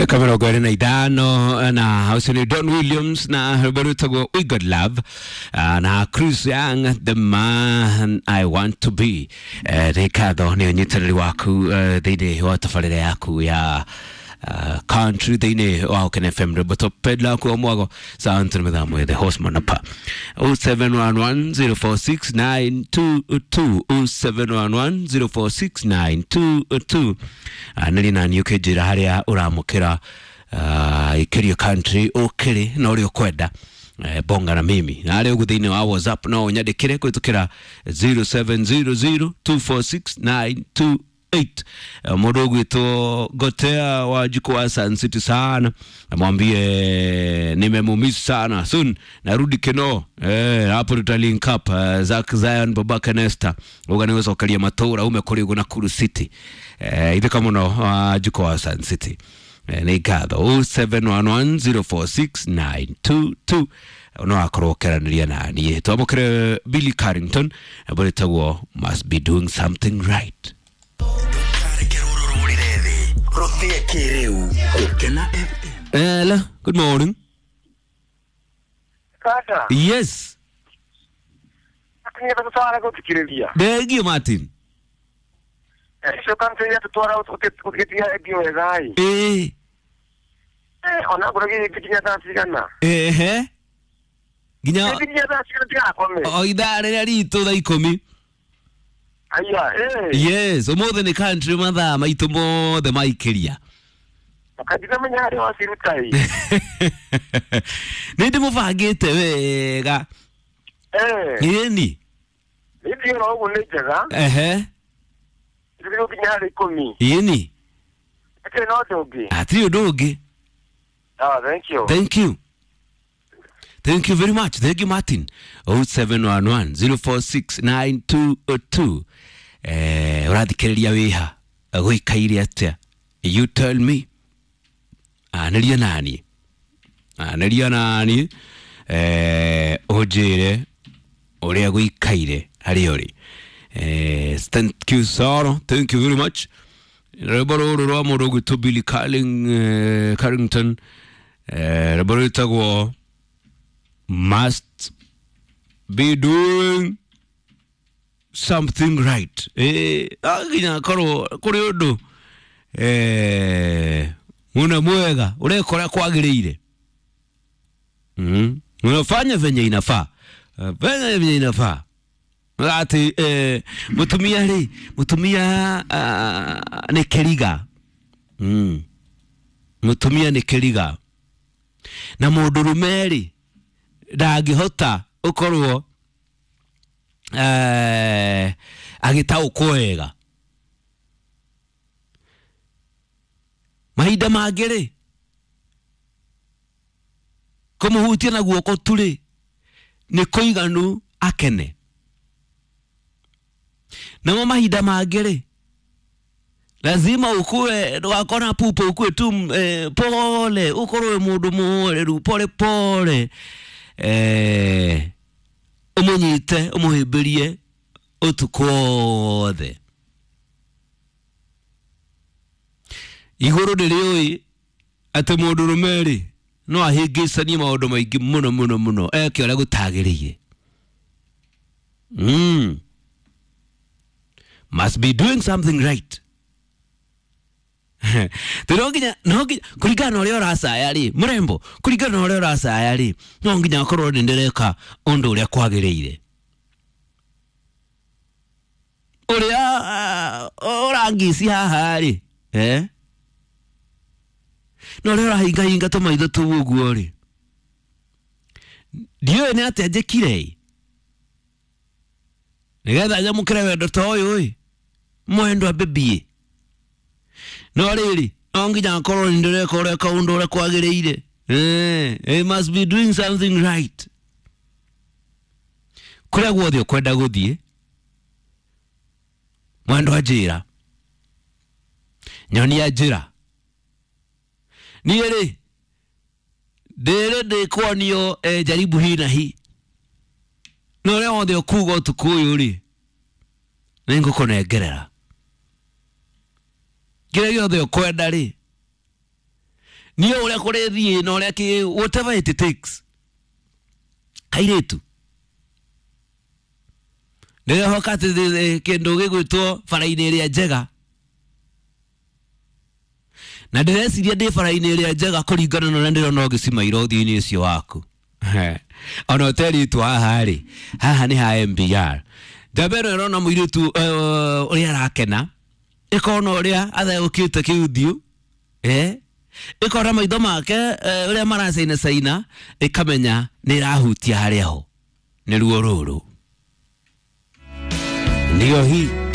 25 na ũcio nĩ Don Williams na rwĩmbo rwĩtagwo We Got Love, na Chris Young, The Man I Want to Be. Nĩ ngatho nĩ ũnyitanĩri waku thĩinĩ wa tabarĩra yaku ya country thĩinĩ wa Ũkene FM, rwĩmbo topedla kwa mwago sound nĩ mathaa the horseman apa 0711046922, 0711046922. Nĩrĩ nani ũkĩnjĩra harĩa ũramũkĩra ikĩrio country ũkĩrĩ na ũrĩa ũkwenda, bonga na mimi na arĩa ũguo thĩinĩ wa WhatsApp no ũnyandĩkĩre kũhĩtũkĩra 0700246928. Mũndũ ũgwĩtwo Gotea wa Jiko wa Sun City sana, mwambie nimemumisi sana, soon narudi Keno, hapo tuta link up. Zack Zion Babaka Nesta uga nĩ gũcokeria matũra ume kũrĩ ũguo Nakuru City, ithĩka mũno wa Jiko wa Sun City. Nĩ ngatho 0711046922 no akorwo ũkĩaranĩria na niĩ. Twamũkĩre Billy Carrington rwĩtagwo Must Be Doing Something Right. Reke rũrũ rũrĩre thĩ rũthĩe kĩrĩu Gũkena FM. Hello, good morning. Kaka, Yes, akinya tutwara guthikiriria. Ndegio Martin. Icio country tutwara ugitia endio wega i. Ĩĩ, Ona ngoro gĩkinya thaa cigana? ehe. Nginya Gĩkinya thaa cigana tigakome. o ithaa rĩrĩa ritũ thaa 10. Aya, eh. Yes, ũmũthĩ nĩ country mathaa maitũ mothe maikĩria. Kanjira menya harĩa waciruta i. Nĩ ndĩmũbangĩte wega. Ĩni. Nĩ oro ũguo nĩ njega. Ehe. Tũgĩthiĩ gũkinya harĩ 10. Ĩni. Hatirĩ na ũndũ ũngĩ. Hatirĩ ũndũ ũngĩ. Ah, thank you. Thank you. Thank you very much. Thank you, Martin. 0711 046 922. Ũrathikĩrĩria wĩha gũikaire atĩa? You tell me. Anĩria nani? Anĩria nani? Ũnjĩre ũrĩa gũikaire harĩa ũrĩ. Thank you, Sarah. Thank you very much. Rwĩmbo rũrũ rwa mũndũ ũgwĩtwo Billy Carrington, rwĩmbo rwĩtagwo Must Be Doing Something Right. Nginya korwo kũrĩ ũndũ muna mwega ũreka ũrĩa kwagĩrĩire, unafanya venye inafaa, venye inafaa atĩ mũtumia rĩ, mũtumia nĩ kĩriga, mũtumia nĩ kĩriga na mũndũrũme rĩ ndangĩhota ũkorwo agĩtaũkwo wega. Mahinda mangĩ rĩ kũmũhutia na guoko tu rĩ nĩ kũiganu akene, namo mahinda mangĩ rĩ lazima ukue ndũgakona pupa, ukue tu pole, ũkorwo wĩ mũndũ mũhoreru pole pole, ũmũnyite ũmũhĩmbĩrie ũtukũ wothe. Igũrũ ndĩrĩũĩ atĩ mũndũrũme rĩ no ahĩngĩcanie maũndũ maingĩ mũno mũno mũno eke ũrĩa gũtagĩrĩire. Must be doing something right. No nginya kũringana na ũrĩa ũracaya rĩ, mũrembo, kũringana na ũrĩa ũracaya rĩ, no nginya akorwo nĩ ndĩreka ũndũ ũrĩa kwagĩrĩire. Ũrĩa ũrangici haha rĩ, na ũrĩa ũrahingahinga tũmaitho tũu ũguo rĩ, ndiũĩ nĩ atĩa njĩkire ĩ nĩgetha nyamũkĩre wendo ta ũyũ ĩ mwendwa bĩbiĩ. No rĩrĩ no nginya akorwo nĩ ndĩreka ũrĩa kaũndũ ũrĩa kwagĩrĩire. I must be doing something right. Kũrĩa guothe ũkwenda gũthiĩ mwendwa njĩra, nyonia njĩra. Niĩ rĩ ndĩrĩ ndĩkuonio jaribu hii na hii, na ũrĩa wothe ũkuga ũtukũ ũyũ rĩ nĩngũkũnengerera kĩrĩa gĩothe ũkwenda rĩ. Niĩ ũrĩa kũrĩthiĩ na ũrĩa kĩ whatever it takes. Kairĩtu ndĩrehoka atĩ kĩndũ gĩgwĩtwo bara-inĩ ĩrĩa njega, na ndĩreciria ndĩ bara-inĩ ĩrĩa njega kũringana na ũrĩa ndĩrona ũgĩcimaira ũthiũ-inĩ ũcio waku. Ona ũterĩtwo haha rĩ, haha nĩ ha MBR. Njamba ĩno ĩrona mũirĩtu ũrĩa arakena, ĩkona ũrĩa atheũkĩte kĩũthiũ, ĩkona maitho make ũrĩa maracainacaina, ĩkamenya nĩ ĩrahutia harĩa ho. Nĩ ruo rũrũ. Ndio hii.